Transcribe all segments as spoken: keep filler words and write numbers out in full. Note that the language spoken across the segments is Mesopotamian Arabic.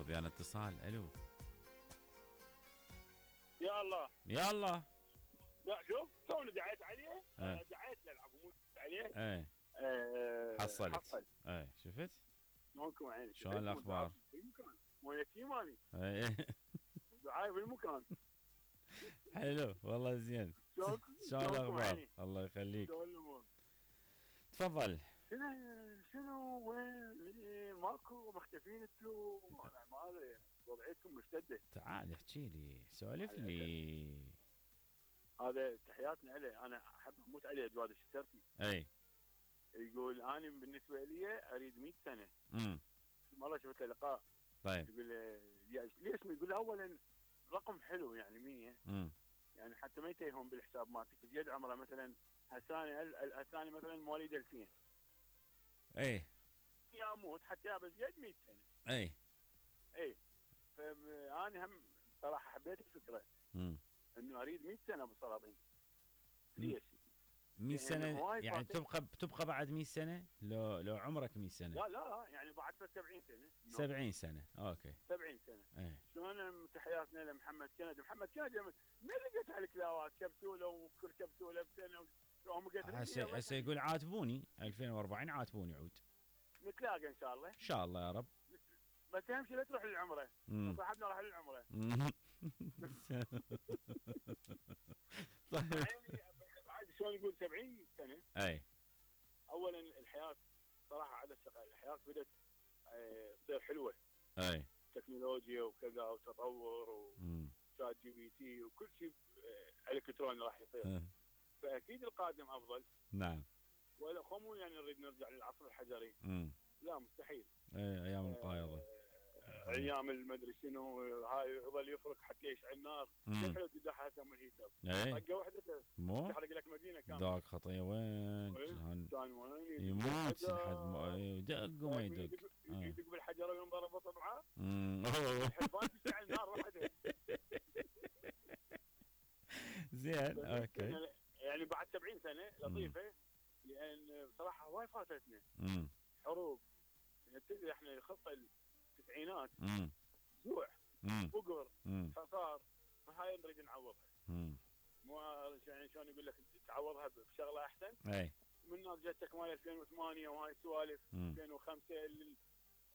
ويانا اتصال. الو يا الله يا الله. لا شوف توني دعيت عليه. اه. دعيت للعفو مو عليه. ايه أه حصلت. حصل. ايه شفت شلونكم عيني؟ شلون الاخبار؟ بالمكان مو يتيماني. ايه دعايه بالمكان. حلو والله زين. شلونكم؟ شلون شلونكم الاخبار؟ عيني؟ الله يخليك. شلون الامور؟ تفضل. شنو شنو وين إيه، ماكو مختفين انتو؟ انا ما ادري وضعيتكم مشتده. تعال احكي لي سولف لي. هذا تحياتنا عليه، انا احب اموت عليه جواد الشتركي. اي يقول انا بالنسبه لي اريد مئة سنه. امم مره شفت له لقاء طيب. يقول لي ليش؟ يقول اولا رقم حلو يعني مية، امم يعني حتى ما يتيهم بالحساب مالتك. زياد عمره مثلا هساني هساني مثلا مواليد ألفين. اي يا اموت حتى يا زياد مئة سنه. اي اي فانا هم صراحه حبيت الفكره امم انه اريد مئة سنه بالسلاطين. ليش؟ مئة سنه هواي يعني فاتت. تبقى تبقى بعد مئة سنه لو لو عمرك مئة سنه. لا لا يعني بعد سبعين سنه. سبعين سنه اوكي. سبعين سنه. ايه شلون تحياتنا لمحمد كندي. محمد كندي من لقيت على الكلاوات كبسوله وكل كبسوله بسنه وهم هسه هسه يقول عاتبوني ألفين وأربعين عاتبوني عود. نتلاقى ان شاء الله. ان شاء الله يا رب. بس اهم شيء لا تروح للعمره. مم. صاحبنا راح للعمره. طيب. يعني بعد شلون يقول سبعين سنه. اي اولا الحياه صراحه على الشقاء الحياه بدات آه، تصير حلوه. اي تكنولوجيا وكذا وتطور امم وشات جي بي تي وكل شيء آه، الكتروني راح يصير. فاكيد القادم افضل. نعم. ولا خمو يعني نريد نرجع للعصر الحجري. امم لا مستحيل. اي ايام القايضه. آه، ايام المدري شنو هاي يظل يفرك حتى يشعل النار. مم. حلو تدحها من الهيتر. اي طقه واحده مو تحرق لك مدينه كامله. ذاك خطيه وين كان كان وين يموت لحد ما يدق وما يدق. آه. يدق بالحجره وينضرب بطبعه. امم الحرفان تشعل نار وحده. زين اوكي. يعني- يعني بعد سبعين سنه لطيفه. لان بصراحه هواي فاتتنا امم حروب. يعني تدري احنا الخطه التسعينات امم جوع امم فقر امم حصار. فهاي نريد نعوضها. امم مو يعني شلون يقول لك تعوضها بشغله احسن. اي من هناك جتك مال ألفين وثمانية وهاي السوالف. مم. ألفين وخمسة لل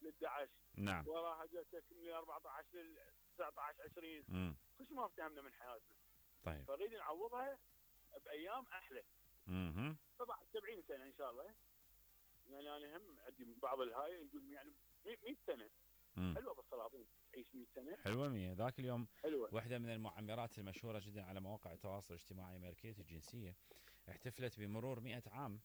للدعش. نعم. وراها جتك من أربعة عشر لل تسعة عشر عشرين. امم كل ما افتهمنا من حياتنا. طيب. فنريد نعوضها بايام احلى. اها فبعد سبعين سنه ان شاء الله. يعني انا هم عندي بعض الهاي يقول يعني مئة سنه. مم. حلوه بالسلاطين تعيش مئة سنه. حلوه مية. ذاك اليوم حلوه. واحدة من المعمرات المشهورة جدا على مواقع التواصل الاجتماعي أمريكية الجنسية احتفلت بمرور مئة عام،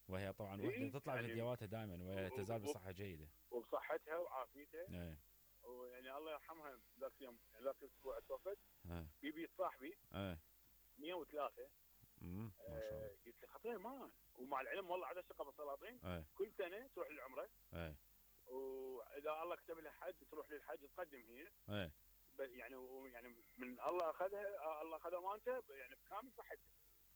وهي طبعا إيه؟ واحدة تطلع يعني فيديوهاتها دائما وهي تزال بصحة جيدة. وبصحتها وعافيتها. ايه ويعني الله يرحمها ذاك اليوم ذاك الاسبوع توفت. ايه بيبي صاحبي ايه مئة وثلاثة. امم ما شاء الله. آه قلت له خطير مان. ومع العلم والله على ثقه بالسلاطين. ايه كل سنه تروح للعمره. ايه واذا الله كتب لها حج تروح للحج تقدم هي. ايه بس يعني يعني من الله اخذها الله اخذ امانته يعني بكامل صحته.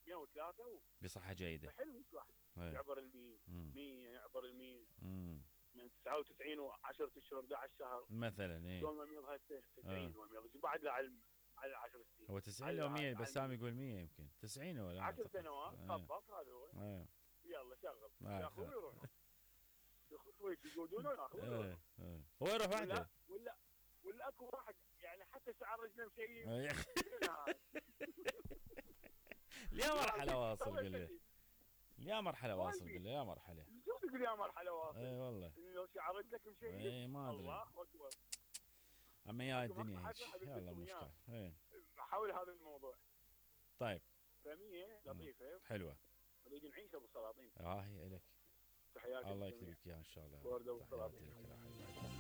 مئة وثلاثة و... بصحة جيدة. حلو واحد ايه يعبر ال مية. مم. مية يعبر ال مية. امم من تسعة وتسعين وعشرة اشهر أحد عشر شهر. مثلا ايه شلون ما يميض هاي تسعين ويميض بعد له على على عشر سنين. هو تسعين لو مية بسام يقول مية يمكن تسعين ولا عشر سنوات ايه. طبق هذا هو. ايه يلا شغل آه. ياخذوا ويروحوا. ياخذوا يقودونه وياخذوا ايه ويروحوا. ايه هو يروح ولا وحده. ولا ولا اكو واحد يعني حتى شعر رجله مشيب. إيه. يا مرحلة واصل قل لي. يا مرحلة واصل قل لي يا مرحلة. شو تقول يا مرحلة واصل؟ اي والله. لو شعر رجلك مشيب. اي ما ادري. الله اكبر. اما يا الدنيا هيك يلا مشكلة. اي حول هذا الموضوع. طيب. فمية لطيفة. حلوة. نريد نعيش ابو السلاطين. اه هي الك. تحياتي. الله يكتب لك اياها ان شاء الله. ورده تحياتي لك.